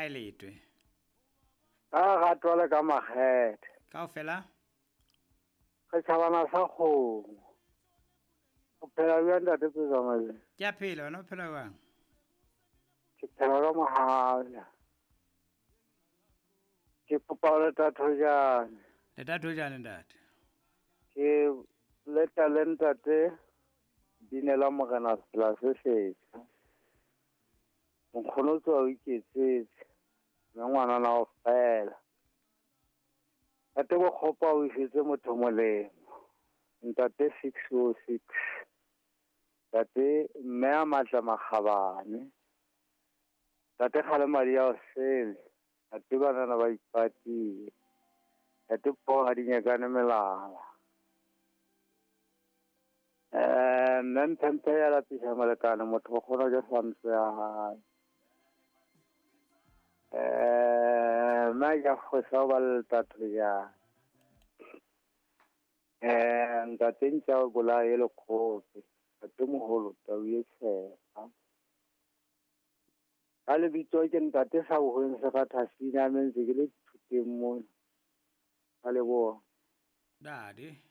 kae Letwe? Ka ratwa le ka makgethe. Kaofela? Re tjhabana sa kgomo. O phela bjang ntate Pezamale? Ke a phela, wena o phela jwang? Ke phela ka mohala. Ke kopa ho leta thojane. Leta thojane ntate. Ke leta le ntate binela morena sela se setjha. Nkgono tswa o iketsetse. Mme ngwana na o fela. Ntate Bokgopa o isitse motho molemo. Ntate 606. Ntate mme a matla makgabane. Ntate kgale madi a o sele. Ntate banana ba ipatile. Ntate poo ha di nyakane melala. Mme mphemphe ya lapisa molekane motho o kgona ke santse ya hae. Mme ke fosa ba le tatho ya. Ntate ntja o bolaye le kgope. Ntate moholo tau e tshepa. Ka lebitso ke ntate sa bohweng se rathasina mme ntse ke le thuteng mona. Ka leboha. Dade.